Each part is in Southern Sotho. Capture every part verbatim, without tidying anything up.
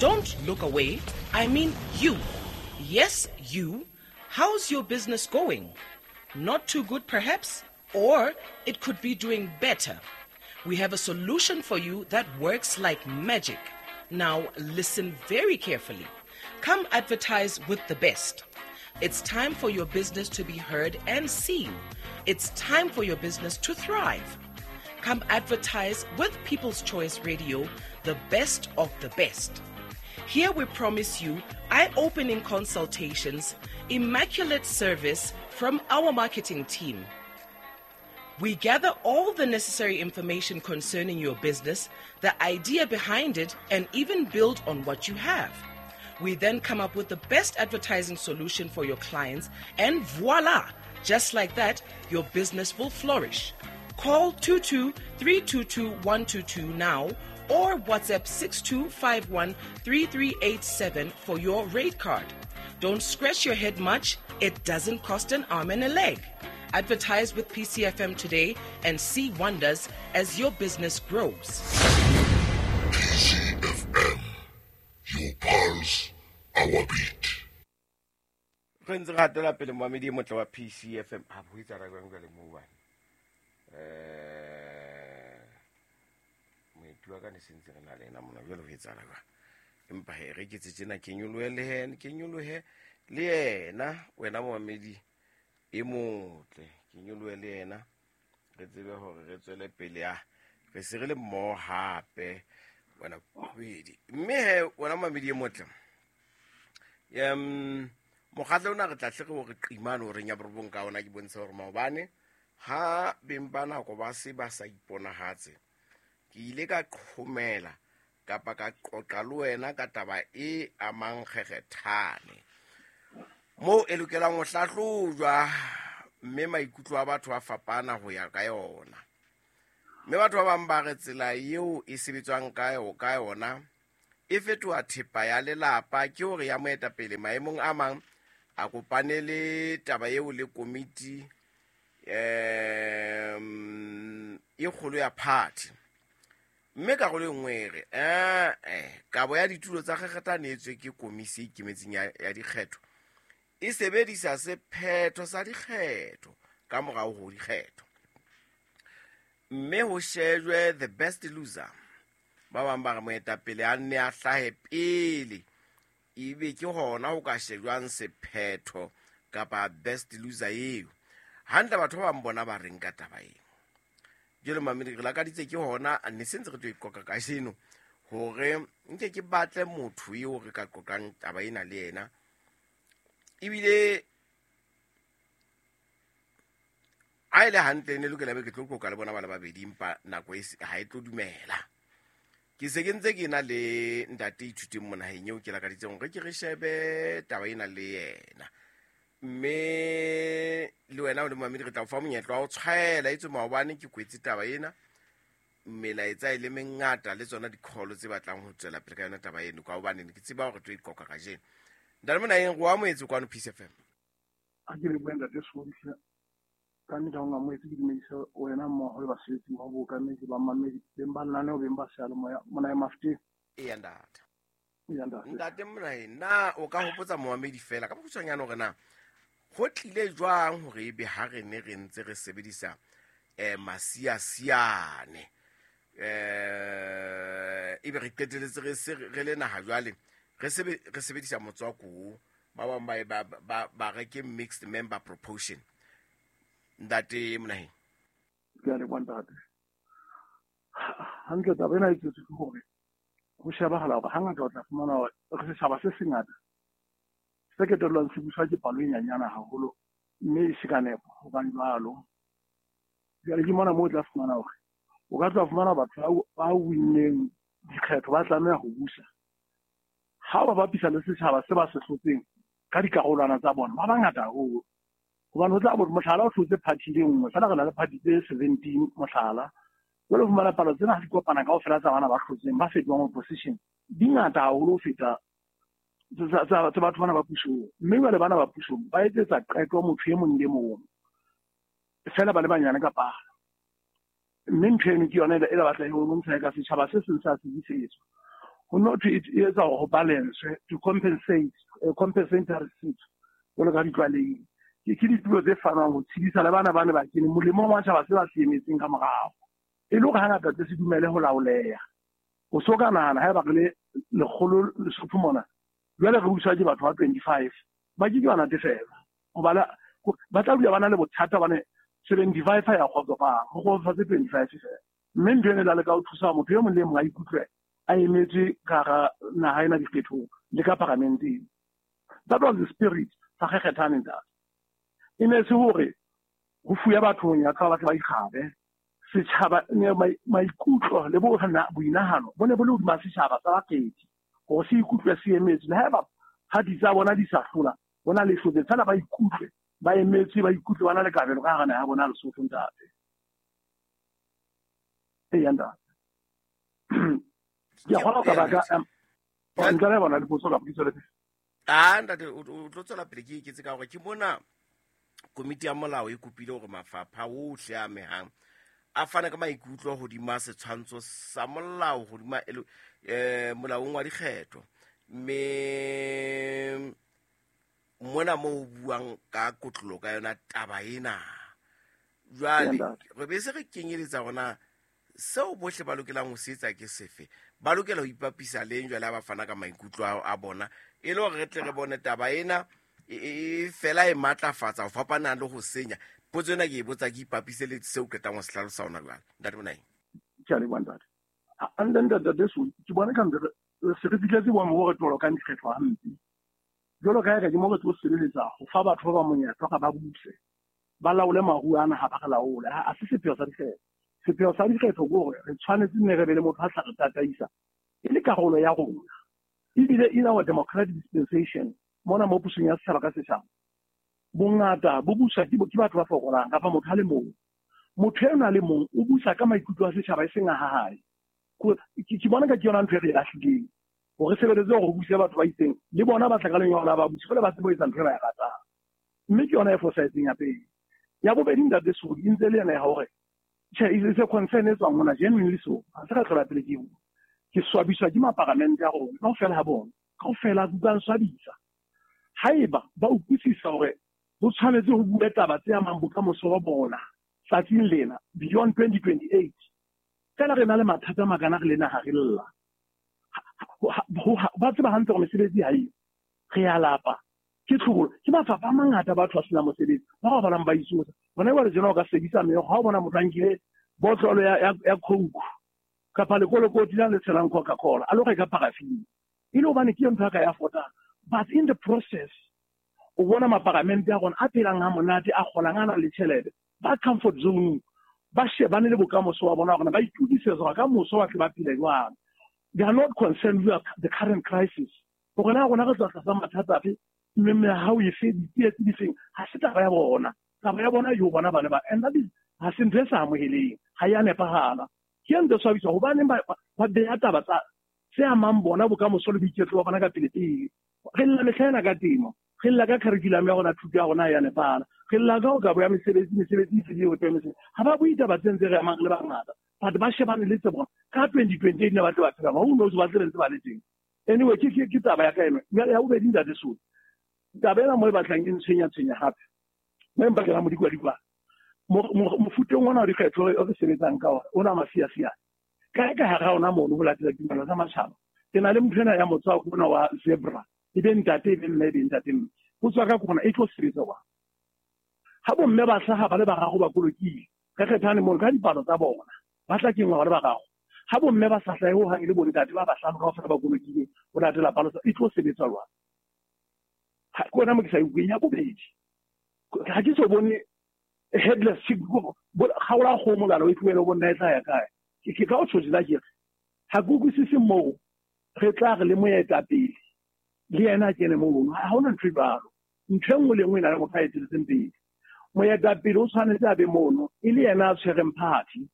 Don't look away. I mean you. Yes, you. How's your business going? Not too good, perhaps? Or it could be doing better. We have a solution for you that works like magic. Now, listen very carefully. Come advertise with the best. It's time for your business to be heard and seen. It's time for your business to thrive. Come advertise with People's Choice Radio, the best of the best. Here we promise you eye-opening consultations, immaculate service from our marketing team. We gather all the necessary information concerning your business, the idea behind it, and even build on what you have. We then come up with the best advertising solution for your clients, and voila! Just like that, your business will flourish. Call two two three two two one two two now or WhatsApp six two five one three three eight seven for your rate card. Don't scratch your head much. It doesn't cost an arm and a leg. Advertise with P C F M today and see wonders as your business grows. P C F M, your pulse, our beat. Re ntse re hatela pele momamedi e motle wa P C F M. Ha bo etsa ra jwang jwale moo bana? Eh, moeti wa ka ne se ntse re na le ena mona, jwale ho etsahala jwang? Empa he re ke tse tjena ke nyolohe le yena, ke nyolohe le yena, wena momamedi e motle, ke nyolohe le yena, re tsebe hore re tswele pele a re se re le mmoho hape wena bobedi. Mme he wena momamedi e motle, em mokgatlo ona re tla hle re o re qimane o reng ya borobong ka ona, ke bontsha hore maobane ha beng ba nako ba se ba sa iponahatse, ke ile ka qhomela kapa ka qoqa le wena ka taba e amang kgekgethane moo e lokelang ho hlahlojwa, mme maikutlo a batho a fapana ho ya ka yona. Mme batho ba bang ba re tsela eo e sebetswang ka yo-, ka yona e fetoha thepa ya lelapa, ke hore ya moetapele maemong a mang a kopane le taba eo le komiti em e kgolo ya party. Mme karolo e nngwe e re, eh, eh, kabo ya ditulo tsa kgekgethane e tswe ke komisi e ikemetseng ya, ya dikgetho e sebedisa sephetho sa dikgetho ka morao ho dikgetho, mme ho shejwe the best loser. Ba bang ba re moetapele a nne a hlahe pele, ebe ke hona ho ka shejwang sephetho kapa best loser eo. Hantle batho ba bang bona ba reng ka taba eo? Jwale mamedi, re lakaditse ke hona, ne se ntse re tlo e qoqa kajeno hore nke ke batle motho eo re ka qoqang taba ena le yena. Ebile ha e le hantle ne lokela be ke tlo qoqa le bona bana ba babedi, empa nako e se, ha e tlo dumela. Ke se ke ntse ke na le ntate Ithuteng Monaheng eo ke lakaditseng hore ke re shebe taba ena le yena. Mme le wena o le momamedi re tla o fa monyetla wa ho tshwaela, etswe maobane ke kwetse taba ena, melaetsa e le mengata le tsona di-call tse batlang ho tswela pele ka yona taba eno, ka hobane ne ke tseba hore re tlo e qoqa kajeno. Ntate Monaheng, re o amohetse kwano P C F M. Ha ke lebohe ntate Sohle. Ka nnete ha o nkamohetse, ke dumedise wena mmoho le basebetsi mmoho, bookamedi, bamamedi, beng ba lenaneo, beng ba seyalemoya, Monaheng Mafeteng. Eya, ntate. Eya, ntate. Ntate Monaheng, na o ka hopotsa momamedi fela ka bokgutshwanyane hore na ho tlile jwang hore ebe ha re ne re ntse re sebedisa, eh, masiasiane, eh, ebe re qetelletse re se re le naha jwale re sebe-, re sebedisa motswako o, ba bang ba e ba, ba, ba re ke mixed member proportion. Ntate Monaheng. Ke a leboha ntate. Hantle taba ena e tswetse ke hore ho shebahala hore hangata o tla fumana hore re setjhaba se sengata se ketellwang se buswa ke palo e nyenyane haholo, mme e se ka nepo hobane jwalo. Jwale ke mona moo o tla fumana hore o ka tla fumana batho ba, ba winneng dikgetho ba tlameha ho busa. Ha ba bapisa le setjhaba se ba se hlotseng ka dikarolwana tsa bona, ba bangata haholo. Hobane ho tla bo mohlala o hlotse party le nngwe, feela re na le party tse seventeen mohlala. Jwale o fumana palo tsena ha di kopana kaofela tsa bana ba hlotseng ba fetohang opposition, di ngata haholo ho feta tsa, tsa, tsa batho bana ba pusong. Mme jwale bana ba pusong ba etsetsa qeto motho e mong le mong, feela ba le banyane ka palo. Mme ntho eno ke yona e la batla e bontsha ka setjhaba se seng sa sebisetswa. Ho no thwe e etsa hore ho balance, to compensate, compensatory seat jwalo ka ditlwalehile. Ke ke ditulo tse fanwang ho tshedisa le bana ba ne ba kene molemong wa tjhaba se ba se emetseng ka morao. E le hore hangata tse se dumele ho laoleha. O so ka nahana haeba re le lekgolo Lesotho mona, jwale re buswa ke batho ba twenty-five, ba ke ke ba natefelwa. Hoba ba tla dula ba na le bothata hobane seventy-five ha ya kgotsofala, ho kgotsofatse twenty-five feela. Mme ntho ena e la leka ho thusa motho e mong le e mong a ikutlwe a emetswe ka hara naha ena dikgethong le ka paramenteng. That was the spirit sa kgekgethane ntate. E ne se hore ho fuya batho monyetla ba tle ba ikgabe. Setjhaba maikutlo le boinahano bo ne bo le hodima setjhaba sa bakgethi hore se ikutlwe se emetswe. Le haeba party tsa bona di sa hlola, bona le hlotse feela ba ikutlwe ba emetswe, ba ikutlwe ba na le kabelo ka hara naha ya bona Lesotho ntate. Eya ntate. Ke a kgolwa ka baka ntle le bona dipotso kapa ke tswele pele? Ah ntate, o tlo tswela pele ke eketse ka hore ke mona komiti ya molao e kopile hore mafapha ohle a amehang a fane ka maikutlo hodima setshwantsho sa molao hodima eh molaong wa dikgetho. Mme mona mo ho buang ka kotlolo ka yona taba ena. Jwale re be se re kenyeletsa hona seo bohle ba lokelang ho se etsa ke sefe. Ba lokela ho ipapisa leng jwale ha ba fana ka maikutlo a bona e le hore re tle re bone taba ena e fela e matlafatsa ho fapana le ho senya. Potso ena ke e botsa ke ipapise le seo qetang ho se hlalosa hona jwale. Ntate Bonai. Ke a leboha ntate. And then ntate Deso, ke bona ka ntle se re fihletse boemo bo re tolokang dikgetho hampe. Jwalo ka ha ke mo re tlo sebeletsa ho fa batho ba ba monyetla hore ba buse, ba laole maruo ana ha ba re laole. Ha se sepheo sa dikgetho. Sepheo sa dikgetho ke hore re tshwanetse nne re be le motho a tla re tataisa e le karolo ya rona. Ebile in our democratic dispensation, mona mo pusong ya setjhaba ka setjhaba, bongata bo buswa ke batho ba fokolang kapa motho a le mong. Motho ena a le mong o busa ka maikutlo a setjhaba e seng a hae. Ke bona ka ke yona ntho e re e lahlileng. Hore sebeletse hore ho buse batho ba itseng, le bona ba tla ka lenyalo la ba buse, jwale ba tsebe ho etsa ntho e ba e ratang. Mme ke yona e fosahetseng ya pele. Ya bobedi ntate Sodi, e ntse le yona ya hore tjhe, e se concern e tswang mona genuinely so. Ha se ka tlola pele ke bua. Ke swabiswa ke maparamente a rona kaofela ha bona. Kaofela ba swabisa. Haeba ba utlwisisa hore ho tshwanetse ho bue taba tse amang bokamoso ba bona tsatsing lena beyond twenty twenty-eight, fela re na le mathata a makana re le naha re lla. Ba tseba hantle hore mesebetsi ha eyo. Re a lapa. Ke tlhobolo. Ke mafapha a mangata batho ba senang mosebetsi. Ba robalang ba itsosa. Bona jwale tjena o ka sebedisa meokgo ha o bona motho a nkile botlolo ya, ya, ya Coke kapa lekolokoti la le tshelang Coca-Cola a lo reka paraffin. E le hobane ke ntho ya ka ya fotang. But in the process, o bona maparamente a rona a phelang ha monate, a kgolang, a nang le tjhelete, ba comfort zone, ba shebane le bokamoso wa bona hore ba itokisetsa hore ka moso ba tle ba phele jwang. They are not concerned with the current crisis. Hore na rona re tla tlasa mathata afe, mme mehau efe, ditsietsi difeng, ha se taba ya bona. Taba ya bona yo bona bana ba. And that is, ha se ntho e sa amoheleng, ha ya nepahala. Ke ntho e swabisa hobaneng ba ba beha taba tsa tse amang bona bokamoso le boiketlo ba bona ka pele pele. Re lla mehla ena ka temo, re lla ka curriculum ya rona, thuto ya rona ya nepahala. Re lla ka ho kabo ya mesebetsi, mesebetsi e fedile ho thwe mesebetsi. Ha ba bue taba tse ntse re amang le bangata. But ba shebane le tse bona. Ka twenty twenty-eight ne ba tle ba phela. Who knows ba tle ntse ba le teng. Anyway, ke ke ke taba ya ka eno. Jwale ya bobedi ntate Sodi. Taba ena mo e batlang e ntshwenya tshwenya hape. Mme empa ke ra modikwadikwa. Mofuteng ona wa dikgetho o re sebetsang ka ona, ona masiasiane. Kae ka hara ona mono ho latela ditumelo tsa matjhaba. Ke na le motho ena ya motswako ona wa zebra. E be ntate, e be mme, e be ntate mme. Ho tswa ka kgona e tlo sebetsa wa. Ha bomme ba hlaha ba le bararo ba kolokile, re kgethane mono ka dipalo tsa bona. Ba tla kenngwa ba le bararo. Ha bomme ba sa hlahe ho hang e le bontate ba bahlano kaofela ba kolokile ho latela palo tsa, e tlo sebetsa jwang? Ha ke ona mo ke sa e utlweng. Ya bobedi, ha ke so bone headless chick, kgaola kgomo lalo e tlohele ho bonna e tla ya kae. Ke ka o tjho tjena ke re, ha ke utlwisise moo re tla re le moetapele le yena a kene mono. Ha hona ntho e jwalo. Ntho e nngwe le nngwe e na le motho a etelletseng pele. Moetapele o tshwanetse a be mono e le yena a tshwereng party.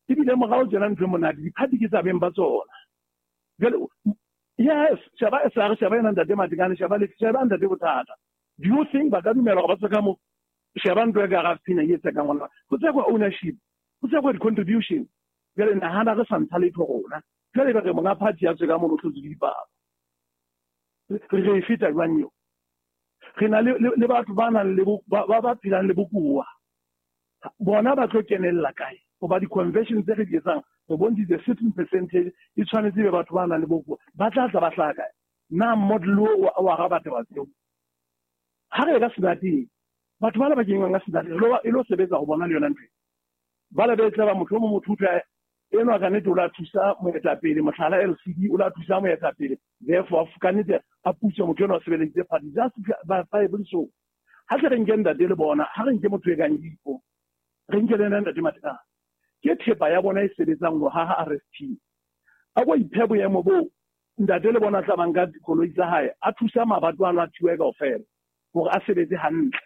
Ebile morao tjena ntho e monate, di-party ke tsa beng ba tsona. Jwale, yes, sheba S R, sheba yena ntate Matekane, sheba le, sheba ntate Bothata. Do you think ba ka dumela hore ba tswe ka mo? Sheba ntho e ka hara pina e tse ka ngwana. Ho tsekwa ownership, ho tsekwa di-contribution. Jwale nahana re sa ntsha letho rona. Jwale ba re monga party ya tswe ka mono tlotse dipalo. Re re feta jwang eo? Re na le le batho ba nang le ba ba phelang le bokuwa. Bona ba tlo kenella kae? Hoba di-convention tse re di etsang re bontshitse certain percentage e tshwanetse be batho ba nang le bokuwa. Ba tla tla ba hlaha kae? Na model o wa ga batho ba tseo. Ha re ka senateng, batho ba le ba kenngwang ka senateng e lo sebetsa ho bona le yona ntho. Ba le be tla ba motho o mo motho utlwa enwa ka nnete o la thusa moetapele, mohlala L C D o la thusa moetapele, therefore ka nnete a putswe motho enwa o sebeleditse party just by five so. Ha tle re nke ntate le bona, ha re nke motho e kang Dipo, re nke le ena ntate Matekane. Ke thepa ya bona e sebetsang ho haha R S P. A ko iphe boemo bo ntate le bona tla banka dikoloi tsa hae, a thusa mabato a lwathiwe kaofela hore a sebetse hantle.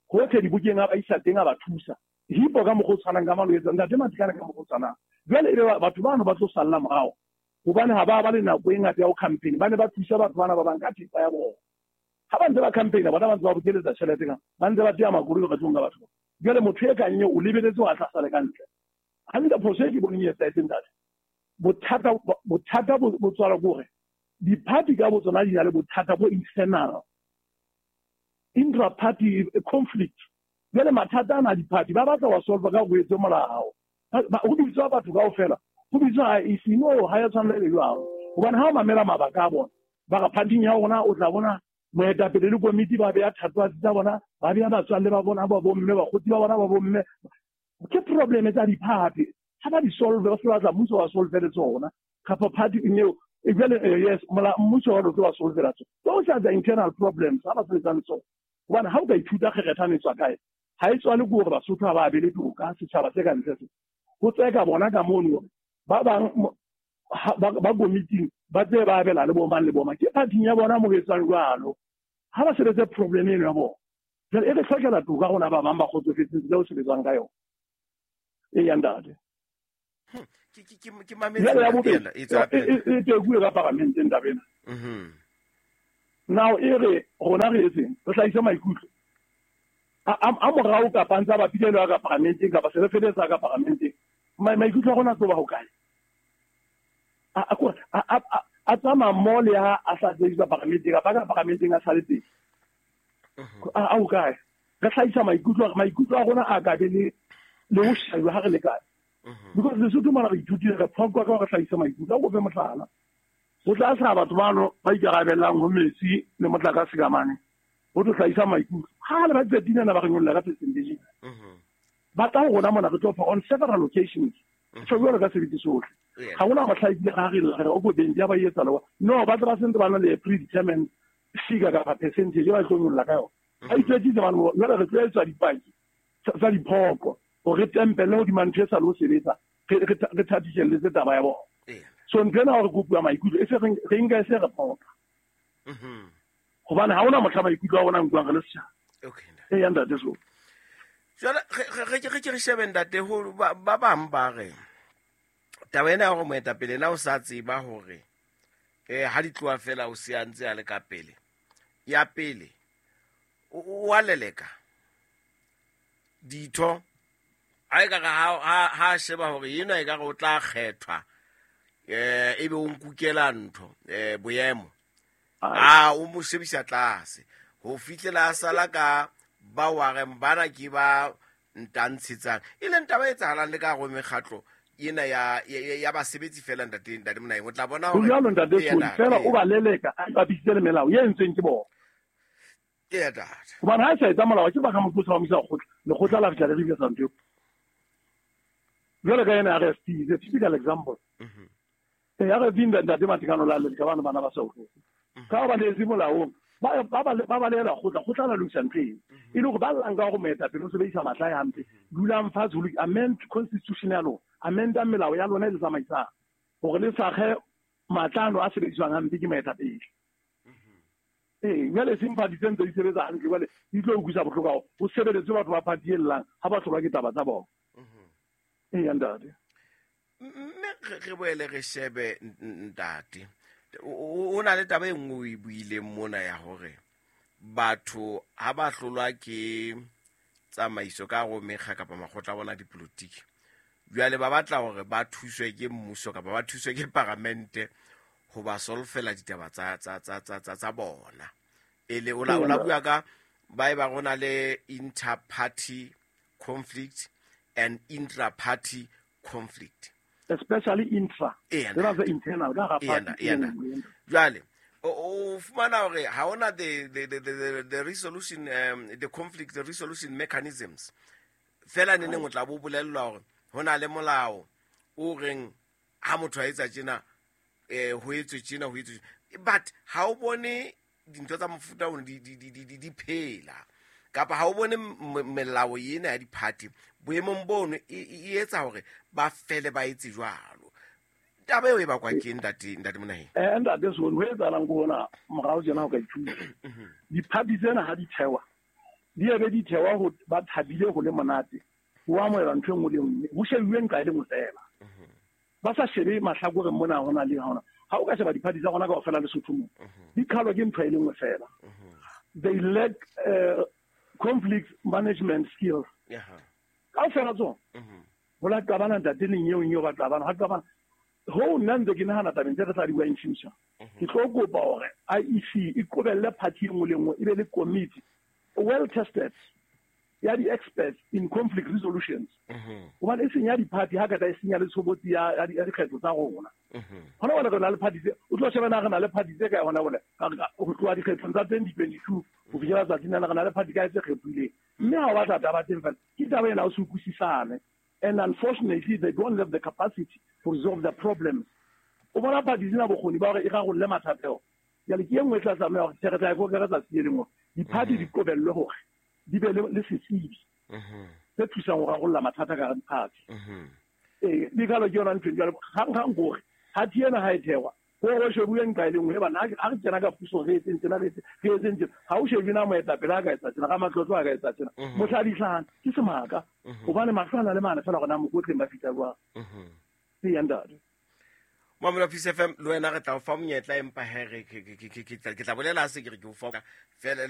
Hohle dibukeng a ba isa teng a ba thusa. Hipo ka mokgwa o tshwanang ka mano etsa ntate Matekane ka mokgwa o tshwanang. Jwale ebe batho bano ba tlo salla morao hobane ha ba ba le nako e ngata ya ho campaign, ba ne ba thusa batho bana ba bang ka thepa ya bona. Ha ba ntse ba campaign bona ba ntse ba bokeletsa tjhelete ka ba ntse ba tea makoloi re tlong ka batho. Jwale motho e kang eo o lebeletse ho tla sale ka ntle. Hantle phoso e ke boneng e etsahetseng ntate. Bothata bothata bo tswala ke hore di-party ka botsona di na le bothata bo internal. Intra-party conflict. Jwale mathata ana a di-party ba batla wa solve ka ho etse molao. Ho bitswa batho kaofela, ho bitswa I E C, no ha ya tshwanela le jwalo. Hobane ha o mamela mabaka a bona, ba re party ya rona o tla bona moetapele le komiti ba beha thatohatsi tsa bona, ba beha batswalle ba bona ba bomme, bakgotsi ba bona ba bomme. Ke problem tsa di-party. Ha ba di solve, ba se batla mmuso wa solve le tsona. Kapa party eo e jwale yes, mola mmuso wa tlo wa solve la tsona. Those are the internal problems ha ba sebetsang tsona. Hobane ha o ka ithuta kgerethane tswa kae, ha e tswale ke hore Basotho ha ba abele toka setjhaba se ka ntle se. Ho tseka bona ka mono ba bang ba komiting ba tse ba abela le bo mang le bo mang. Ke party ya bona mo etsang jwalo. Ha ba sebetse problem eno ya bona. Jwale e re hlokela toka rona ba bang ba kgotsofetseng tseo sebetsang ka yona. E ya ntate. Ke ke ke ke mametse e tswa e tekuwe ka paramenteng taba ena. Mhm. Now e re rona re etseng re hlahise maikutlo. A a morao kapa ntsa ba philelo ka paramenteng kapa se re feletsa ka paramenteng. Maikutlo a rona tlo ba ho kae? A a a tsamaya mmoho le ha a sa sebedisa paramenteng kapa ka paramenteng a sale teng. A ho kae? Re hlahisa maikutlo, maikutlo a rona a ka be le le ho shejwa ha re le kae. Because Lesotho mona re ithutile re phoqwa ka hore hlahisa maikutlo. A ko fe mohlala. Ho tla hlaha batho bano ba ikarabellang ho metsi le motlakase ka mane. Ho tlo hlahisa maikutlo. Ha le ba qetile na ba re nyolla ka percentage. Ba tla ho rona mona re tlo fa on several occasions. Tjho jwalo ka sebete sohle. Ha hona ho hlahile ha re re o bobeng ya ba etsa le. No ba tla ba sentse ba na le predetermined figure kapa percentage ba tlo nyolla ka yona. Ha itwetsitse ba no jwale re tlo etsa dipaki tsa diphoqo hore tempele hodima ntho e sa lo sebetsa re re thatiselletse taba ya bona. So ntho ena hore kopuwa maikutlo e se re nka e se re phoqa. Mhm. Hobane ha hona mohla maikutlo a rona nkuang re le setjhaba. Okay. E ya ntate so. Jwale re re ke re shebe ntate ho ba bang ba re taba ena ya hore moetapele na o sa tseba hore eh ha di tloha fela o se a ntse a le ka pele. Ya pele o a leleka ditho a e ka ha ha sheba hore ena e ka re o tla kgethwa eh ebe o nkukela ntho eh boemo a o mo shebisa tlase ho fihlela a sala ka ba wa re bana ke ba ntantshetsang e leng taba e etsahalang le ka go mekgatlo ena ya ya basebetsi fela ntate ntate Monaeng o tla bona hore jalo ntate fela o ba leleka a bapisitse le melao e entsweng ke bona. Ke ntate hobane ha sa etsa molao ke ba ka motho wa misa kgotla lekgotla la fihla le re sa ntho jwale ka ena R S P is a typical example. Mhm. E ya re vinda ntate Matekane la le ka bana bana ba sa utlwe ka ba le molaong ba ba ba ba lela kgotla kgotla la lokisa ntho eo e le hore ba llang ka hore moetapele o sebedisa matla ya hampe dulang fatshe ho amend constitution ya lona, amenda melao ya lona e le tsamaisang hore le sakge matla ano a sebediswang hampe ke moetapele. Ee, jwale seng party tse ntse di sebetsa hantle jwale di tlo utlwisa bohloko haholo ho sebeletse batho ba party e llang ha ba hlolwa ke taba tsa bona. Ee ntate. Mme re boele re shebe ntate o na le taba e nngwe o e buileng mona ya hore batho ha ba hlolwa ke tsamaiso ka go mekga kapa makgotla a bona dipolotiki Jwale ba batla hore ba thuswe ke mmuso kapa ba thuswe ke paramente ho ba solfela ditaba tsa tsa tsa tsa tsa tsa bona. E le o la o la bua ka ba e ba rona le inter-party conflict and intra-party conflict. Especially intra. There is internal ka ga party. Jwale o fumana hore ha ona the the the the, the resolution um, the conflict the resolution mechanisms. Fela ne neng o tla bo bolellwa hore hona le molao o reng ha motho a etsa tjena eh ho etswe tjena ho etswe, but ha o bone dintho tsa mofuta ono di di di di di phela kapa ha o bone melao ena ya di-party boemong bono e etsa hore ba fele ba etse jwalo. Taba eo e bakwa ke ntate ntate Monaheng? Eh ntate so ho etsahalang ko hona morao tjena ho ka ithuta di-party tsena ha di thewa di ebe di thewa ho ba thabile ho le monate ho amohela ntho e nngwe le nngwe ho shebuwe nqa e le nngwe fela ba sa shebe mahlakoreng mona hona le hona. Ha o ka sheba di-party tsa rona kaofela Lesotho mo di qhalwa ke ntho e le nngwe fela. They lack uh, conflict management skills. Kaofela tsona ho la qabana ntate leng eo eo ba qabana ha qabana ho nna ntse ke nahana tabeng tse re tla di bua in future. Ke tlo kopa hore I E C e qobelle party e nngwe le nngwe e be le committee well tested ya di-experts in conflict resolutions. Hobane e senya di-party ha kata e senya le tshobotsi ya dikgetho tsa rona. Hona jwale re na le party tse o tlo sheba na re na le party tse kae hona jwale ho tloha dikgethong tsa twenty twenty-two ho fihlela tsatsing lena re na le party kae tse kgethuileng. Mme ha o batla taba teng fela ke taba ena o se utlwisisane. And unfortunately they don't have the capacity to resolve the problems. O bona party tsena bokgoni ba hore e rarolle mathata ao. Jwale ke e nngwe e tla tlameha hore re tla e koka tsatsi le lengwe di-party di qobellwe hore di be le setsebi se thusang ho rarolla mathata ka hara di-party. Ee, di kalo ke yona ntho jwale hang-hang hore party ena ha e thewa ho ho shebuwe nqa e le nngwe bana ha re kena ka puso re etseng tjena re etseng tjena ha o shebe na moetapele a ka etsa tjena ka matlotlo a ka etsa tjena mohla di hlahang ke semaka hobane mahlo a na le mane fela hore na mokotleng ba fihla jwang. Ee ntate. Mamela Peace F M le wena re tla o fa monyetla empa he re ke tla bolela se ke re ke o fa fela.